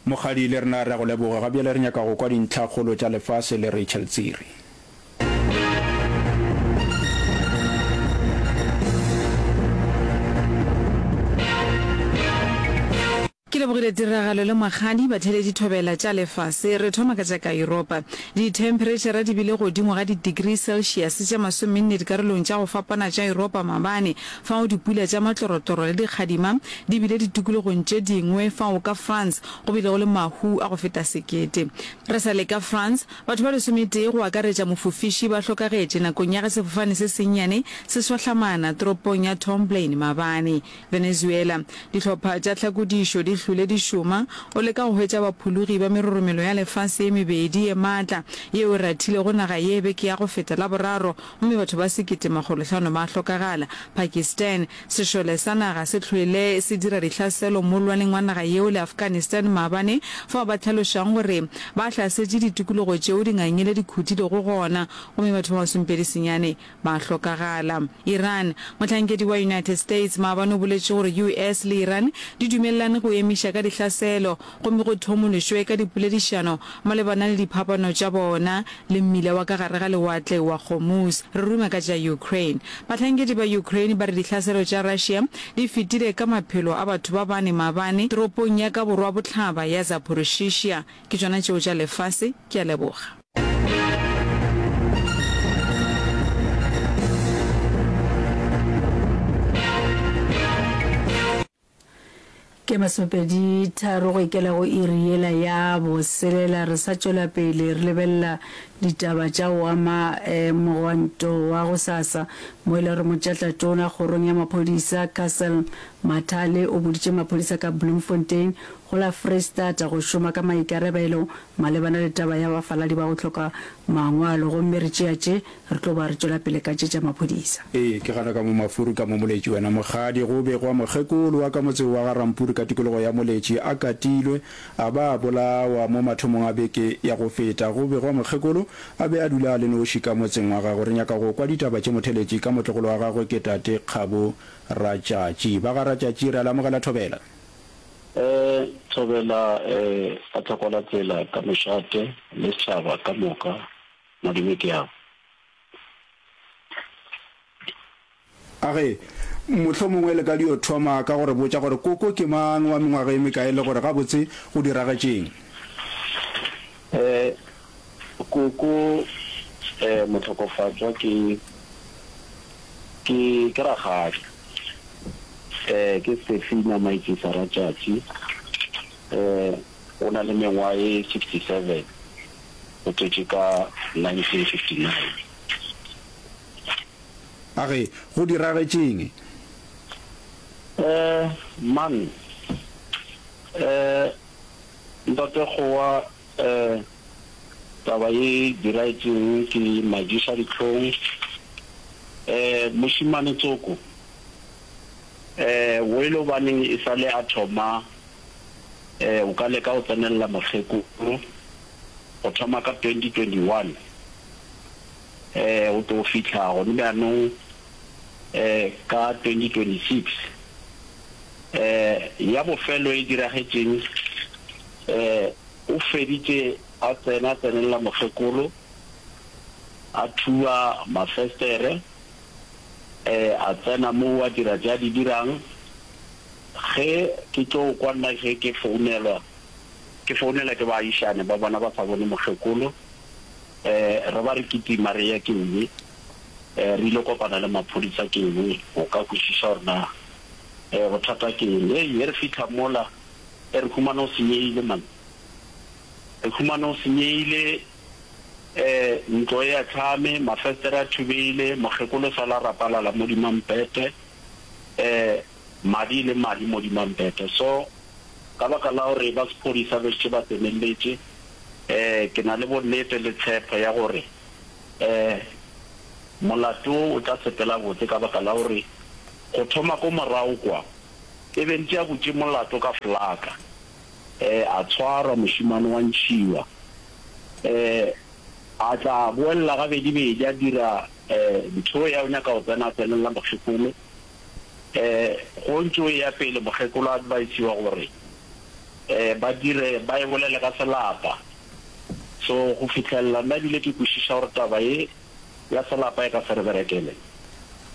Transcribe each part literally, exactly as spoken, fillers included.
Mokgadi, le rena re a go leboga. Ga bjale re nyaka go kwa dintlhakgolo tša lefase le Rachel Tsiri. Ke lebogile tiragalo le Mokgadi, batheeletši thobela tša lefase. Re thoma ka tša ka Yuropa. Dithemphereitšhara di bile godimo ga di-degree Celsius tše masomenne dikarolong tša go fapana tša Yuropa maabane, fao dipula tša matlorotloro le dikgadima di bile ditikologong tše dingwe fao ka France go bilego le mahu a go feta sekete. Re sa le ka France, batho ba lesometee go akaretša mofofiši ba hlokagetše nakong ya ge sefofane se sennyane se swahlamana toropong ya Tomblaine maabane. Venezuela, Dihlopha tša tlhakodišo di hlwele di šoma o leka go hwetša baphologi ba meroromelo ya lefase ye mebedi ye maatla yeo e rathilego naga ye beke ya go feta Laboraro gomme batho ba sekete makgolohlano ba hlokagala. Pakistan, Sešole sa naga se hlwele se dira dihlaselo mollwaneng wa naga yeo le Afghanistan maabane fao ba hlalošang gore ba hlasetše ditikologo tšeo dingangele di khutilego gona gomme batho ba masomepedi senyane ba hlokagala. Iran, Mohlankedi wa United States maabane o boletše gore U S le Iran di dumelelane go emiša ka dihlaselo gomme go thomološwe ka dipoledišano malebana le diphapano tša bona le mmila wa ka gare ga lewatle wa Hormuz. Re ruma ka tša Ukraine. Bahlankedi ba Ukraine ba re dihlaselo tša Russia di fetile ka maphelo a batho ba bane maabane toropong ya ka borwa-bohlaba ya Zaporizhzhia. Ke tšona tšeo tša lefase. Ke a leboga. Ke masomepedi tharo go ikela go iri yela ya boselela. Re sa tšwela pele re lebelela ditaba tša go ama mogwanto wa gosasa mo e le gore motšatlatona kgorong ya maphodisa Cassel Mathale o boditše maphodisa ka Bloemfontein go la Freistata go šoma ka maikarabelo malebana le taba ya bafaladi ba go hloka mangwalo gomme re tšea tše re tlo ba re tšwela pele ka tše tša maphodisa. Ee, ke gana ka mo mafuru ka mo Moletši wena Mokgadi. Go begwa mokgekolo wa ka motseng wa ga Rampuri ka tikologo ya Moletši a katilwe a ba a bolawa mo mathomong a beke ya go feta. Go begwa mokgekolo a be a dula a le noši ka motseng wa gagwe. Re nyaka go kwa ditaba tše motheletši ka motlogolo wa gagwe ke tate Kgabo Ratšatši. Ba ga Ratšatši re a le amogela Thobela. E Thobela e a tlhokola tsela ka mošate le setšhaba ka moka madume ke ao. A re, Mohlomongwe le ka dio thoma ka go re botša gore koko ke mang, wa mengwaga e mekae le gore gabotse go diragetšeng. E Koko e mohlokofatšwa ke ke ke rakgadi. E ke Stefina Maitsisa Ratšatši. E o na le mengwaga ye sixty seven, o tswetšwe ka nineteen fifty nine. A re, Go diragetšeng? E man, e Ntate Kgowa e taba ye diragetšeng ke majiša dihlong. E mošemane tsoko e welo baneng e sale a thoma e o ka leka go tsenelela mokgekolo go thoma ka twenty twenty one e go tlo fihla gone bjanong e ka twenty twenty six. E ya bofelo e diragetšeng e o feditše a tsena a tsenelela mokgekolo a thuba mafestere e a tsena moo a dira tše a di dirang. Ge ke tlo kwa nna ge ke founelwa ke founela ke baagišane ba bona ba sa bone mokgekolo e re ba re kitima re ya Kewe e re ile kopana le maphodisa Kewe go ka kwešiša gore na e bothata ke eng. Hei ge re fihla mola e re humana o senyehile man. Re humana o senyehile e ntlo e ahlame, mafestere a thubehile, mokgekolo o sala a rapalala mo dimampete e madi e le madi mo dimampete. So ka baka la gore ba sephodisa be šetše ba tsenelletše e ke na le bonnete le tshepo ya gore e molato wo o tla sepela botse ka baka la gore go thoma ko morago kwa e be ntše a butše molato ka flaka. E a tshwarwa mošemane wa ntšhiwa. E a tla boelela gabedi-bedi a dira e ntho ya o nyaka go tsena a tsenelela mokgekolo. E go ntše o eya pele mokgekolo a advisiwa gore um ba dire ba e bolele ka selapa. So go fihlelela nna ebile ke kwešiša gore taba ye ya selapa e ka se re berekele.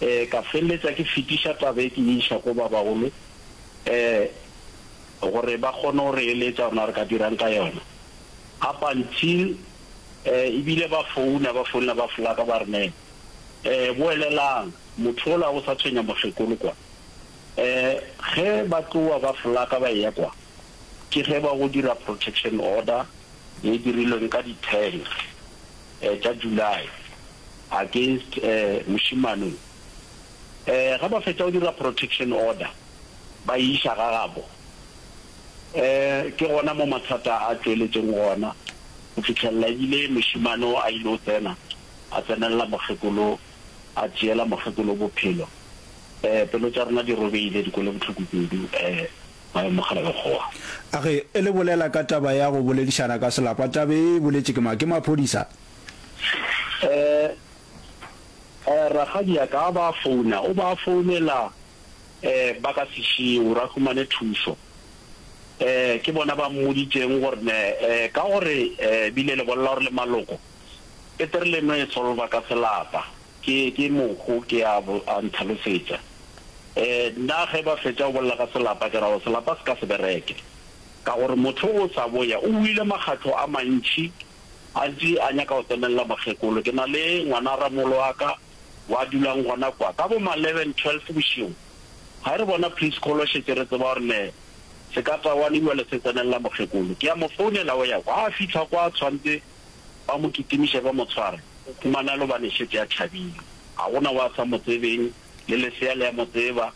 Um ka feleletša ke fetiša taba e ke e iša ko ba bagolo um gore ba kgone go re eletša gore na re ka dirang ka yona. Up until um ebile ba founa, ba founela ba flaka ba re ne um boelelang, motho ola o sa tshwenya mokgekolo kwa. Um ge ba tloa ba flaka ba eya kwa, ke ge ba go dira protection order ye dirilweng ka di ten tša July against mošemane o. Ge ba fetša go dira protection order ba e iša ga gabo. Ke gona mo mathata a tšweletšeng gona go fihlelela ebile mošemane o a ile go tsena a tsenelela mokgekolo a tšeela mokgekolo bophelo. Pelo tša rena di robehile di kwele bohloko kudu. Maemokgalabje Kgowa. A Ge le bolela ka taba ya go boledišana ka selapa, taba ye e boletše ke mang? Ke maphodisa? Eh, eh, rakgadi ya ka a ba founa, o ba founela eh ba ka sešie gore a humane thušo. Eh, ke bona ba mmoditšeng gore ne eh ka gore eh bile le bolela gore le maloko, petere le no e solva ka selapa. Ke, ke mohu ke a, a ntlhalosetša. E, nna ge ba fetša go bolela ka selapa, ke ra gore selapa se ka se bereke. Ka gore motho o sa boya, o wile makgatlo a mantši, a ntše a nyaka go tsenelela mokgekolo. Ke na le ngwana ramolo wa ka wa dulang gona kwa. Ka bo ma eleven, twelve bošego, ga re bona please call šetše re tseba gore ne sekatawane bjale se tsenelela mokgekolo. Ke a mo founela o ya kwa. Ha a fihla kwa a tshwantse ba mo kitimiše ba mo tshware, o humana le gobane šetše a tšhabile. Ga gona wa sa mo tsebeng. Le lesea le a mo tseba,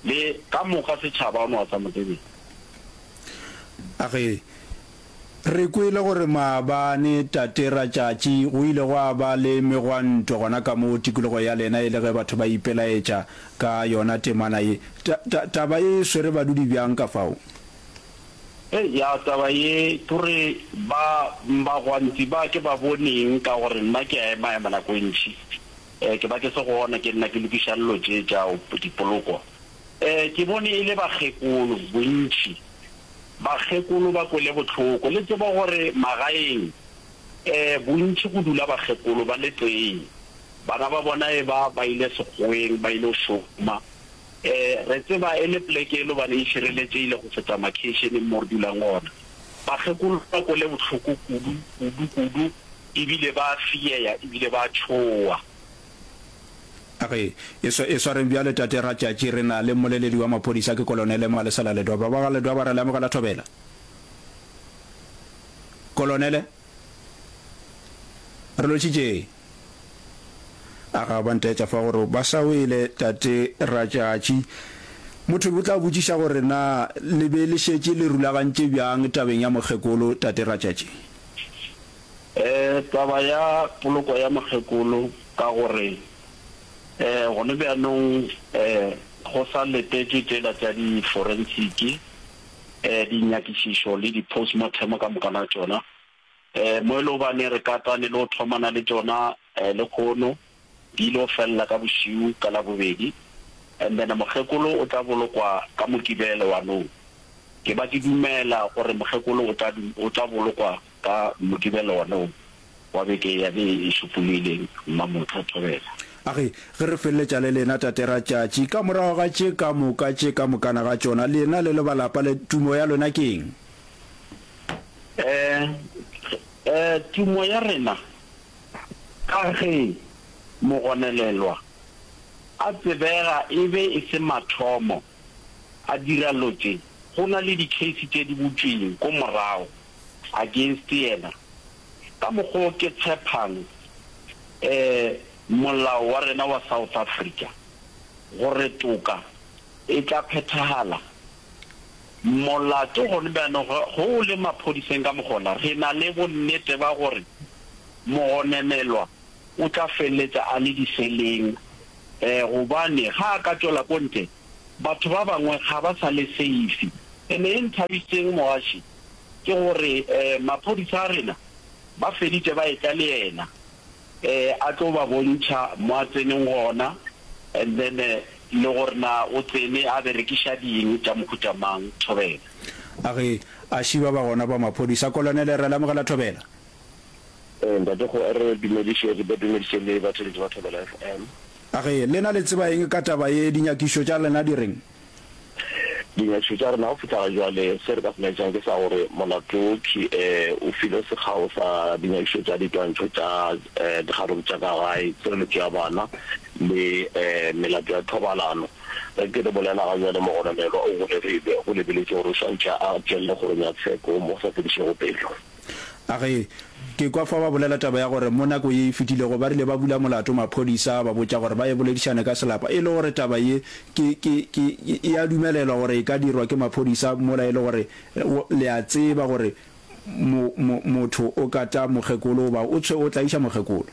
le ka moka setšhaba o no a sa mo tsebeng. A Ge re kwele gore maabane Tate Ratšatši go ile gwa ba le megwanto gona ka moo tikologo ya lena e le ge batho ba ipelaetša ka yona temana ye. Ta, ta, taba ye e swere badudi bjang ka fao? Hei, ya taba ye ke gore ba, bagwanti ba ke ba boneng ka gore nna ke a ema-ema nako e ntši. E, ke ba ke se gona, ke nna ke lokiša dilo tše tša dipoloko. E, ke bone e le bakgekolo, bontši. Bakgekolo ba kwele bohloko. Le tseba gore magaeng, e, bontši go dula bakgekolo ba le tee. Bana ba bona e ba ba ile sekgoweng, ba ile go šoma. E, re tseba e le poleke e le gobane e šireletšehile go feta makheišeneng mo re dulang gona. Bakgekolo ba kwele bohloko kudu, kudu, kudu. Ebile ba a fieya ebile ba a tšhowa. A re, E swa, e swareng bjale, Tate Ratšatši, re na le mmoleledi wa maphodisa, ke Kolonele Malesela Ledwaba. Ba ga Ledwaba, re le amogela thobela. Kolonele? Re lotšhitše. A ga ba ntaetša fa gore ba sa wele, Tate Ratšatši. Motho o tla botšiša gore na le be le šetše le rulagantše bjang tabeng ya mokgekolo, Tate Ratšatši? E, taba ya poloko ya mokgekolo, ka gore e, gone bjanong e, go sa letetšwe tšela tša di-forensiki, e, dinyakišišo le di-postmortem ka moka ga tšona, e, mo e le gobane re katane le go thomana le tšona e, lekgono, di ile go felela ka bošiu ka Labobedi, and then mokgekolo o tla bolokwa ka Mokibelo wa nou. Ke ba ke dumela gore mokgekolo o tla, o tla bolokwa Ka Mokibelo wona wo wa beke ya be e šupologileng, Mmamotha Thobela. A re, Ge re feleletša le lena, Tate Ratšatši, ka morago ga tše ka moka tše ka mokana ga tšona, lena le le ba lapa le, tumo ya lona ke eng? Eh, eh, tumo ya rena, ka ge mogonelelwa a tsebega e be e se mathomo a dira lo tše, go na le di-case tše di butšweng ko morago. against yena. Ka mokgo ke tshepang eh molao wa rena wa South Africa gore toka e tla phethagala, molato gone bjanong ge o le maphodiseng ka mokgola re na le bonnete ba gore mogonenelwa o tla feleletša a le diseleng eh gobane ga a ka tšwela ko ntle batho ba bangwe ga ba sa le safe. Ene e nthabišitšeng mogaši ke gore maphodisa a rena ba feditše ba etla le yena a tlo ba bontšha mo a tseneng gona and then le gore na o tsene a berekiša ding tša mohuta mang. Thobela. A ge a šiba ba gona ba maphodisa. Kolonele, re lamogela Thobela. Ee, ntate go re dumediše, re ba dumediše le batheeletši ba Thobela F M. A ge lena le tseba eng ka taba ye? Dinyakišo tša lena di reng? Dinyakišo tša rena go fihla ga jwale, se re ka se laetšang ke sa gore molato wo ke o filwe sekgao sa dinyakišo tša ditwantšho tša dikgaruru tša ka gae, tshireletšo ya bana le melato ya thobalano. Ge ke re bolela ga bjale mogononelwa o golegilwe, go lebeletšwe gore o swantšhe a tšwelele kgorong ya tsheko mo go sa fedišego pelo. A ge, ke kwa fa ba bolela taba ya gore mo nako ye e fetilego ba rile ba bula molato maphodisa a ba botša gore ba ye boledišane ka selapa e le gore taba ye ke, ke, ke, e a dumelelwa gore e ka dirwa ke maphodisa mola e le gore le a tseba gore mo, mo, motho o kata mokgekolo goba o tshwe, o tlaiša mokgekolo.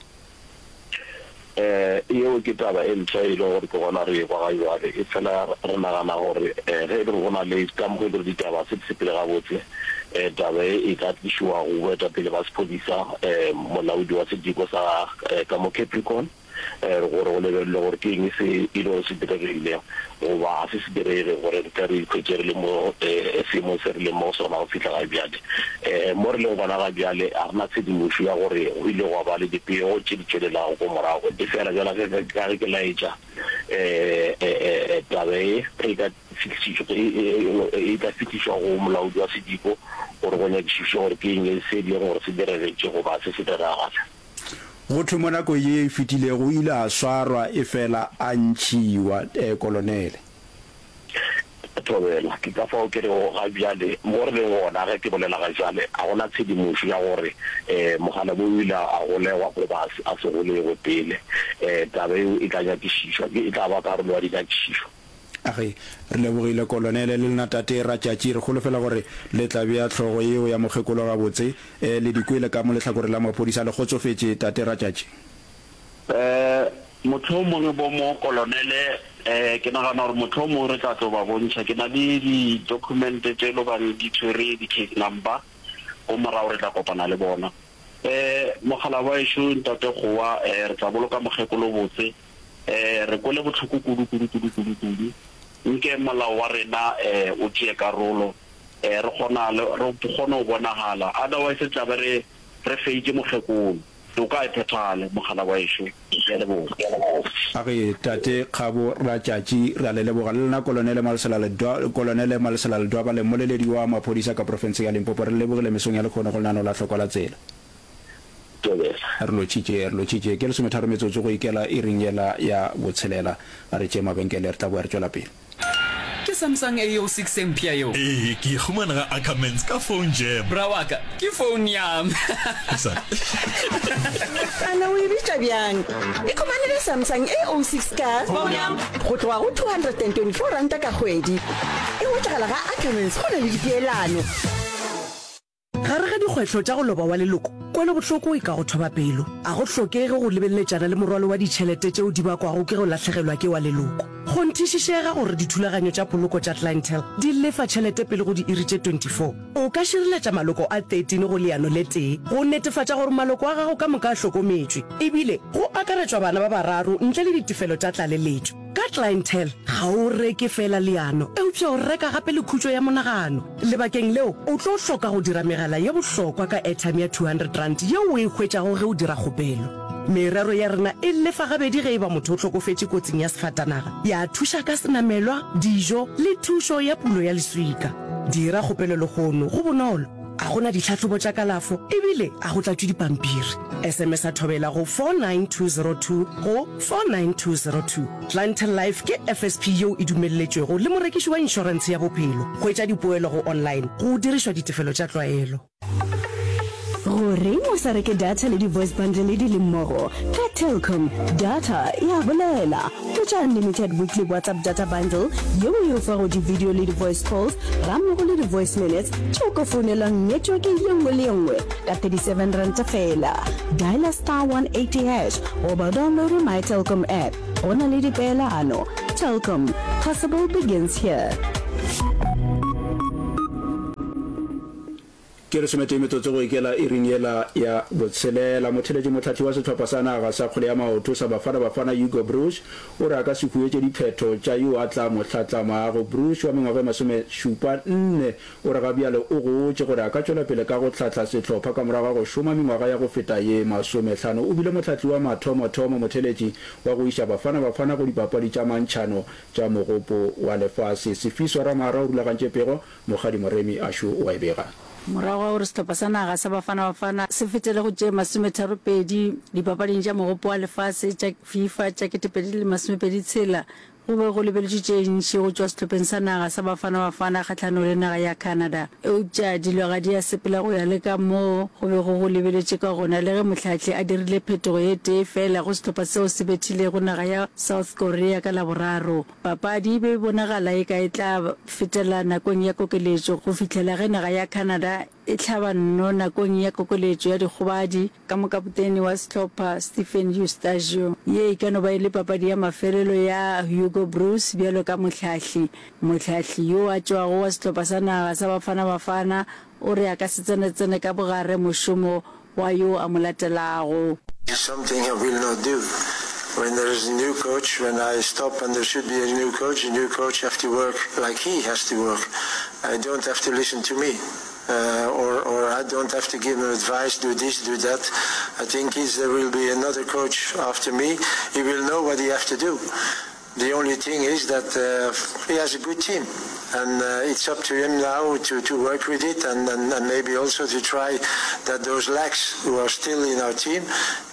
Yeo ke taba e mpsha e lego gore ke gona re ekwa ga bjale. Efela re nagana gore ge e le gore go na le ka mokgwa e le gore ditaba se di sepele gabotse, taba ye e ka tlišwa go boetapele ba sephodisa, molaodi wa sediko sa ka mo Capricorn, gore go lebelelwe gore ke eng se e le gore se diregile goba ga se se direge gore re tle re ikhwetše re le mo seemong se re leng mo go sona go fihla ga bjale. Mo re leng gona ga bjale ga re na tshedimošo ya gore go ile gwa ba le dipego tše di tšwelelago ko morago. Efela bjalo ka ge ke laetša, taba ye ge e ka e tla fihlišwa go molaodi wa sediko gore go nyakišišwe gore ke eng se e leng gore se diregetše goba se se diregale. Go thwe mo nakong ye e fetilego o ile a swarwa efela a ntšhiwa, Kolonele. Thobela. Ke ka fao ke rego ga bjale, mo re leng gona ge ke bolela ga bjale, ga go na tshedimošo ya gore mokgalabje o ile a golegwa goba a se golegwe pele. Taba yeo e tla nyakišišwa, ke e tla ba karolo ya dinyakišišo. Age, re lebogile Kolonele le lena Tate Ratšatši. Re holofela gore le tla bea hlogo yeo ya mokgekolo gabotse. E, le di kwele ka mo lehlakoreng la maphodisa. Le kgotsofetše, Tate Ratšatši? E, mohlomongwe bo mo Kolonele, e, ke nagana gore mohlomongwe re tla tlo ba bontšha. Ke na le di-document tše lo bang di tshwere di-case number, ko morago re tla kopana le bona. E, mogala wa ešo Ntate Gowa, e, re tla boloka mokgekolo botse. E, re kwele bohloko kudu, kudu, kudu, kudu, kudu. Nke molao wa rena e, o tšee karolo, e, re kgona le, re kgone go bonagala. Otherwise re tla be re, re feitše mokgekolo. Toka e phethagale, mogala wa ešo. Ke a leboga. A re, Tate Kgabo Ratšatši, re a le leboga. Le lena Kolonele Malesela Ledwa, Kolonele Malesela Ledwaba le mmoleledi wa maphodisa ka profenseng ya Limpopo, re le lebogile mesong ya lekhono go lenaneo la Hlokwa la Tsela. Tobela. Re lotšhitše, re lotšhitše. Ke lesometharo metsotso go ikela iring yela ya botshelela. A re tšee mabenkele, re tla boa re tšwela pele. Ke Samsung A O six e mpsha yeo. Ee, ke e humana ga Ackermans ka phone jam. Bra wa ka, ke phone ya me. Ana o e bitša bjang? Ikhumanele Samsung A O six ka Phone ya me. Go tloga go two hundred and twenty four ranta ka kgwedi. E hwetšagala ga Ackermans go na le dipeelano. Gare ga dikgwetlho tša go loba wa leloko, kwelobohloko e ka go thoba pelo. A go hlokege go lebeleletšana le morwalo wa ditšhelete tšeo di bakwago ke go lahlegelwa ke wa leloko. Kgonthišišega gore dithulaganyo tša poloko tša Clientele di lefa tšhelete pele go diiri tše twenty four O ka šireletša maloko a thirteen go leano le tee go netefatša gore maloko a gago ka moka a hlokometšwe, ebile go akaretšwa bana ba bararo ntle le ditefelo tša tlaleletšo. Ka Clientele, ga o reke feela leano, eupša o reka gape le khutšo ya monagano. Lebakeng leo, o tlo hloka go dira megala ye bohlokwa ka airtime ya two hundred rand yeo o e hwetšago ge o dira kgopelo. Merero ya rena e lefa gabedi ge e ba motho o hlokofetše kotsing ya sefatanaga, ya thuša ka senamelwa, dijo le thušo ya pulo ya leswika. Dira kgopelo lehono, go bonolo, ga go na ditlhahlobo tša kalafo e bile ga go tlatšwe dipampiri. S M S-a Thobela go four nine two zero two go four nine two zero two. Clientele Life ke F S P yeo e dumelletšwego le morekiši wa inšorentshe ya bophelo. Hwetša dipoelo go online go dirišwa ditefelo tša tlwaelo. Go reng o sa reke data le di-voice bundle di le mmogo? Ka Telkom, data ya bolela. Hwetša unlimited weekly WhatsApp data bundle yeo e o fago di-video le di-voice calls gammogo le di-voice minutes tše o ka founelang network ye nngwe le ye nngwe ka thirty seven ranta feela. Diala star one eighty hash goba downloade My Telkom app. Go na le dipeelano. Telkom, possible begins here. Ke lesometee metsotso go ikela iring yela ya botshelela. Motheeletši mohlahli wa sehlopha sa naga sa kgwele ya maoto sa Bafana Bafana Hugo Broos o re a ka se huetše diphetho tša yo a tla mo hlatlamago. Broos wa mengwaga e masomešupa nne o re ga bjale o gotše gore a ka tšwela pele ka go hlahla sehlopha ka morago ga go šoma mengwaga ya go feta ye masomehlano. O bile mohlahli wa mathomothomo motheeletši wa go iša Bafana Bafana go dipapadi tša mantšhano tša Mogopo wa Lefase. Sifiso Ramara o rulagantše pego, Mokgadi Moremi Ashu o a e bega. Morago ga gore sehlopha sa naga sa Bafana Bafana se fetele go tše masometharopedi dipapading tša Mogopo wa Lefase tša FIFA tša ketepedi le masomepedi tshela, go be go lebeletšwe tše ntši go tšwa sehlopheng sa naga sa Bafana Bafana kgahlanong le naga ya Canada. Eupša dilo ga di a sepela go ya le ka moo go bego go lebeletšwe ka gona le ge mohlahli a dirile phetogo ye tee feela go sehlopha seo se bethilego naga ya South Korea ka Laboraro. Papadi e be e bonagala eka e tla fetela nakong ya kokeletšo go fihlela ge naga ya Canada e hlaba nno nakong ya kokeletšo ya dikgobadi ka mokapotene wa sehlopha Stephen Eustáquio. Ye e ka no ba e le papadi ya mafelelo ya Hugo Broos bjalo ka mohlahli. Mohlahli yo a tšwago wa sehlopha sa naga sa Bafana Bafana o re a ka se tsenatsene ka bogare mošomo wa yo a mo latelago. It's something I will not do. When there is a new coach, when I stop and there should be a new coach, the new coach have to work like he has to work. I don't have to listen to me. Uh, or, or I don't have to give him advice, do this, do that. I think if there will be another coach after me, he will know what he have to do. The only thing is that uh, he has a good team and uh, it's up to him now to, to work with it and, and, and maybe also to try that those lacks who are still in our team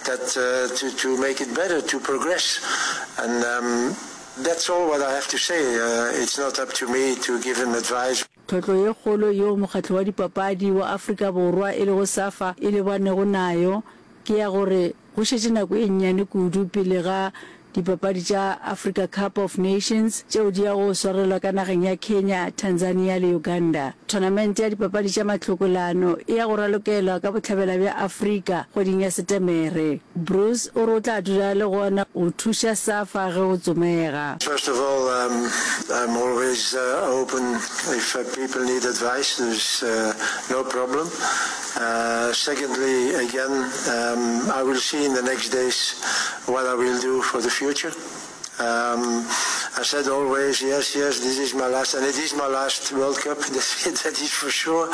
that uh, to, to make it better, to progress. And um, that's all what I have to say. Uh, it's not up to me to give him advice. Tlhotlo ye kgolo yeo mokgatlo wa dipapadi wa Afrika Borwa e lego SAFA e lebanego nayo ke ya gore go šetše nako e nnyane kudu pele ga Dipapadi tša Africa Cup of Nations tšeo di yago go swarelwa ka nageng ya Kenya, Tanzania le Uganda. Thonamente ya dipapadi tša mahlokolano e ya go ralokelwa ka bohlabela bja Afrika kgweding ya Setemere. Broos o re o tla dula a le gona go thuša SAFA ge go tsomega. First of all, um, I'm always uh, open if uh, people need advice, there's uh, no problem. Uh, secondly, again, um, I will see in the next days what I will do for the future. Um, I said always, yes, yes, this is my last, and it is my last World Cup, that is for sure.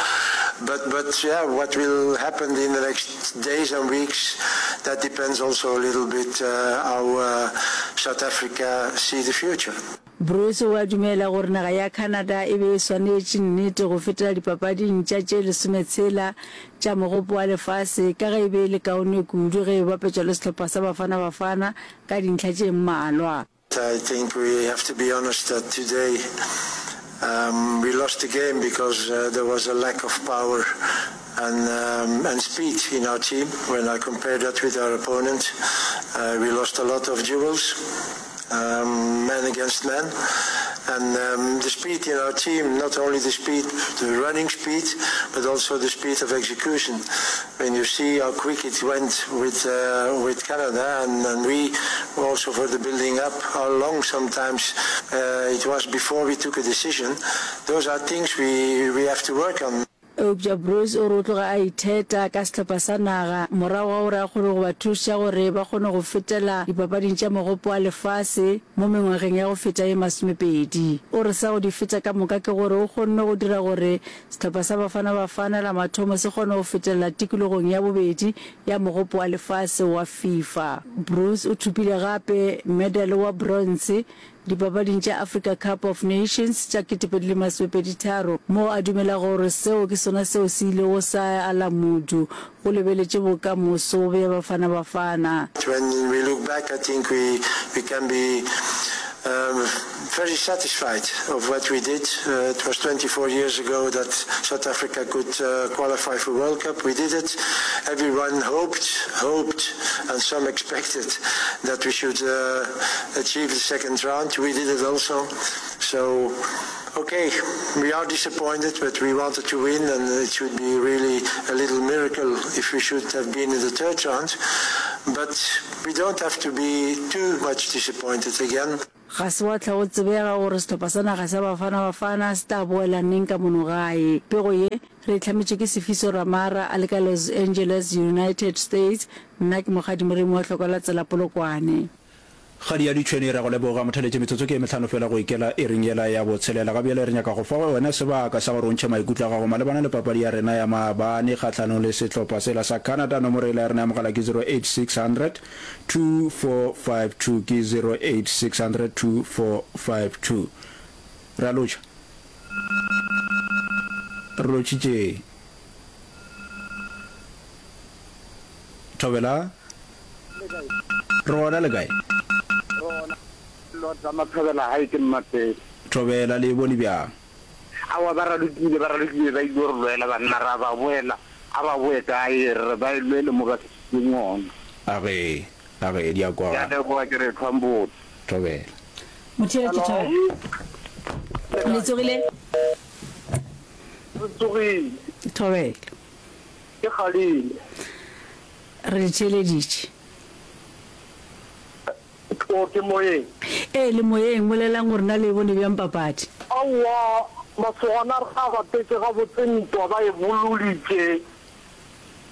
But, but yeah, what will happen in the next days and weeks, that depends also a little bit uh, how uh, South Africa see the future. Broos o a dumela gore naga ya Canada e be e swanetše nnete go fetela dipapading tša tše lesometshela tša Mogopo wa Lefase ka ge e be e le kaone kudu ge e bapetšwa le sehlopha sa Bafana Bafana ka dintlha tše mmalwa. I think we have to be honest that today um, we lost the game because uh, there was a lack of power and, um, and speed in our team. When I compare that with our opponent, uh, we lost a lot of duels, um, man against man. And um, the speed in our team, not only the speed, the running speed, but also the speed of execution. When you see how quick it went with uh, with Canada, and, and we also for the building up, how long sometimes uh, it was before we took a decision. Those are things we, we have to work on. Eupša Broos o re o tloga a itheta ka sehlopha sa naga morago ga gore a kgone go ba thuša gore ba kgone go fetela dipapading tša Mogopo wa Lefase mo mengwageng ya go feta ye masomepedi. O re sa go di feta ka moka ke gore o kgonne go dira gore sehlopha sa Bafana Bafana la mathomo se kgone go fetelela tikologong ya bobedi ya Mogopo wa Lefase wa FIFA. Broos o thopile gape medale wa bronze Dipapading tša Africa Cup of Nations tša ketepedi le masomepedi tharo, moo a dumelago gore seo ke sona seo se ilego sa ala modu go lebeletše bokamoso bja Bafana Bafana. When we look back, I think we, we can be um, very satisfied of what we did. Uh, it was twenty-four years ago that South Africa could uh, qualify for World Cup. We did it. Everyone hoped, hoped, and some expected that we should uh, achieve the second round. We did it also. So, okay, we are disappointed, but we wanted to win, and it should be really a little miracle if we should have been in the third round. But we don't have to be too much disappointed again. Ga se wa hlwa go tsebega gore sehlopha sa naga sa Bafana Bafana se tla boela neng ka mono gae. Pego ye re e hlametšwe ke Sifiso Ramara a le ka Los Angeles, United States. Nna ke Mokgadi Moremi wa Hlokwa la Tsela Polokwane. Kgadi ya ditšhwene re a go leboga motheletše metsotso ke ye mehlano fela go ikela iring yela ya botshelela. Ga bjale re nyaka go fa wena sebaka sa gore o ntšhe maikutlo a gago malebana le papadi ya rena ya maabane kgahlanong le sehlopha sela sa Canada. Nomoro yela ya rena ya mogala ke zero eight six hundred two four five two ke zero eight six hundred two four five two. Re a lotšha. Re lotšhitše. Thobela. Re gona le kae? Re gona. Lotsa Mathobela hae ke Mmapele. Thobela le e bone bjang? Aowa ba ralokile, ba ralokile ba ile go re lwela banna ra ba boela, a ba boe kae re re ba e lwele mo ba fihlileng gona. A ge, a ge, di a Ke a kwagala. leboga ke re ethwang botse. Thobela. Motheeletši Thobela. Le tsogile? Re tsogile. Thobela. Ke kgadile. Re le theeleditše. O, ke moyeng? Ee, le moyeng. Bolelang gore na le e bone bjang papadi. Aowa, masogana a rena a bapetše gabotse ntwa, ba e boloditše.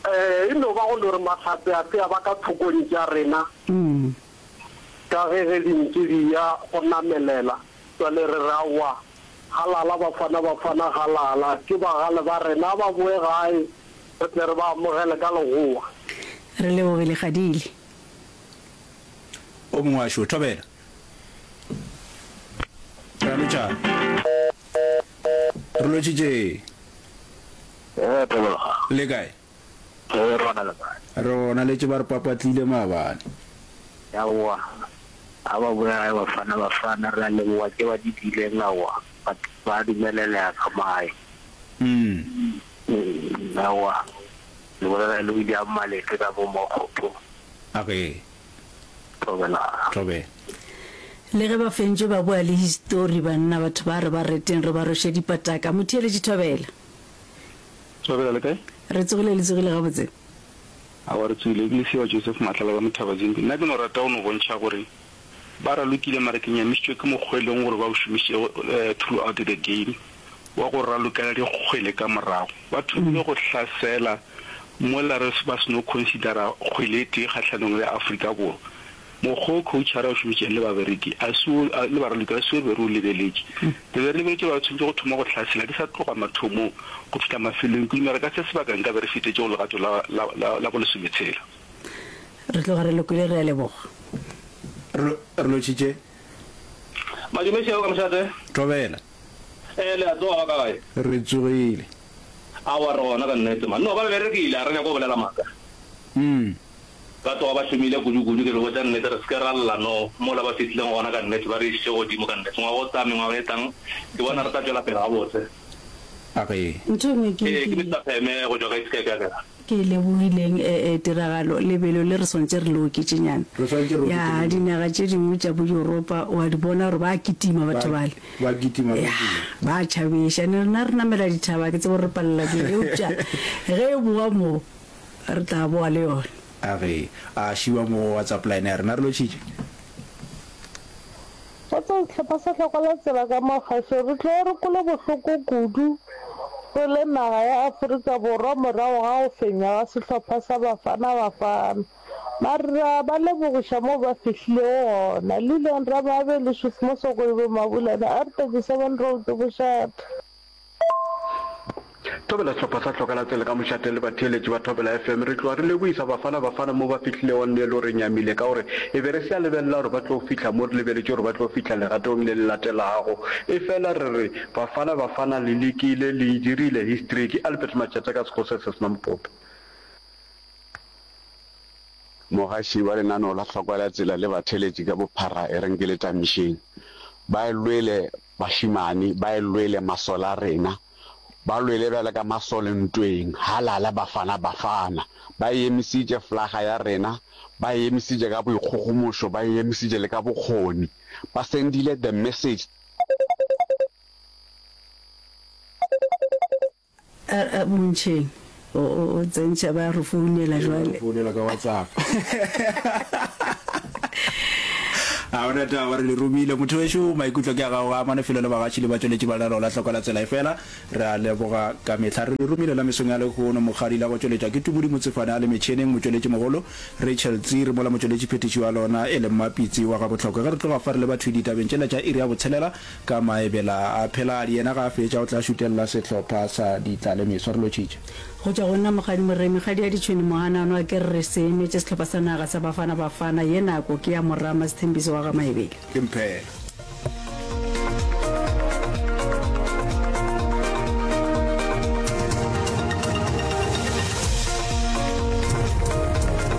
E no ba go no re mahlatse a se a ba ka thokong tša rena, ka ge ge dintši di ya go namelela. Bjale re re aowa, halala Bafana Bafana halala, ke bagale ba rena, a ba boe gae re tle re ba amogele ka legoa. Re lebogile Kgadile. O mongwe wa šo, Thobela. Re a lotšha. Re lotšhitše. Ee, Thobela. Le kae? Ee, re gona le kae? Re gona, letše ba re papatlile maabane. Aowa, a ba boya gae Bafana Bafana, re a leboga tše ba di diileng aowa, ba, ba dumelelega ka mo gae. Mm. Mm, aowa, le bolela le William Malete ka mo Mokgopong. A ge. Thobela. Thobela. Le ge ba fentšwe ba boa le histori banna batho ba re ba reteng re ba rweše dipataka. Motheeletši Thobela. Thobela le kae? Re tsogile le tsogile gabotse? Aowa re tsogile, ke Lesiba Joseph Matlala ka mo Thabazimbi. Nna ke no rata go no bontšha gore ba ralokile mara ke nyamišitšwe ke mokgwa e leng gore ba o šomišitšego throughout the game wa go ralokela dikgwele ka morago. Ba thomile go hlasela mola re ba seno considera kgwele e tee kgahlanong le Afrika Borwa. Mokgwa wo coach a re o šomišitšeng le babereki a se wo, le baraloki a se wo re be re o lebeletše. Re be re lebeletše gore ba tshwanetše go thoma go hlasela di sa tloga mathomong go fihla mafelong. Ke dumela ka se sebaka nka be re fetetše go legato la, la, la, la bolesometshela. Re tloga re lokile, re a leboga. Re, re lotšhitše. Madume šeo ka mošate. Thobela. Ee, le a tsoga ba ka gae? Re tsogile. Aowa, re gona ka nnete man. No, ba berekile, a re nyake go bolela maaka. Mm. Ba tloga ba šomile kudu-kudu, ke le botša nnete, re se ke ra lla no mola ba fihlileng gona ka nnete, ba re išitše godimo ka nnete. Ngwaga o tlang, mengwaga e tlang, ke bona re tla tšwela pele gabotse. A re. Ntho e nngwe ke, Ee, ke ke, Mister Pheme go tšwa ka East Cape, a kere. ke e lebogileng, e, e, tiragalo, lebelo le re swantše re le oketšenyana. Re swantše re oketše Ya, lebelo. dinaga tše dingwe tša bo Yuropa, o a di bona gore ba a kitima Ba, batho bale. ba kitima ka Ya, kudu. ba a tšhabiša. Ne rena re namela dithaba, ke tsebe gore re palela ke eng, eupša ge e boa mo, Re tla boa le yona. A re a šiwa mo go WhatsApp line ya rena. Re lotšhitše. Kgotsong sehlopha sa Hlokola Tsela ka mo kgašo re tloge re kwele bohloko kudu re le naga ya Afrika Borwa morago ga go fenywa ga sehlopha sa Bafana Bafana. Mare re a ba lebogiša moo ba fihlilego gona. Lillian Ramabe, Leshofu Mosokolobe Mabulana, R thirty seven Road, Bošate. Thobela Sehlopha sa Hloka la Tsela ka mošate le batheeletši ba Thobela F M re tloga re lebohisa Bafana Bafana mo ba fihlilego nnelo re nyamile ka gore e be re se a lebelela gore ba tlo fihla mo re lebeletše gore ba tlo fihla legatong le le latelago efela re re Bafana Bafana le lekile le e dirile history ke Albert Matšatša ka Sekgosi se sena mopope. Mogaši wa lenaneo la Hlokwa la Tsela le batheeletši ka bophara e reng ke le tamišeng. Ba e lwele bašemane, ba e lwele masole a rena. Ba lwele bjalo ka masole ntweng. Halala Bafana Bafana! Ba e emisitše flaga ya rena, ba e emisitše ka boikgogomošo, ba e emisitše le ka bokgoni. Ba sendile the message. A, a, Montšheng, o, o, o tsentšha ba re founela Ee, ba re jwale. founela ka WhatsApp. A gona taba, re le romile. Motho wešo, maikutlo ke a gago, a amane felo le bagatši le batšweletši ba lenaneo la Hloka la Tsela. Efela re a leboga ka mehla. Re le romile la mesong ya lehono. Mokgadi la go tšweletšwa ke Tumodi Motsefane a le metšheneng, motšweletšimogolo Rachel Tsiri, mola motšweletšiphethiši wa lona e le Mmapitsi wa Gabohlokwa. Ge re tloga fa re leba thwi ditabeng tšela tša iri ya botshelela ka maebela a Pheladi. Yena ga a fetša o tla šutelela sehlopha sa Ditlalemeso. Re lotšhitše. Go tšwa go nna Mokgadi Moremi, Kgadi ya Ditšhwene Mohanano a ke re re se emetše sehlopha sa naga sa Bafana Bafana, ye nako ke ya Morama Sethembiso wa ga Maebele. Ke Mphela.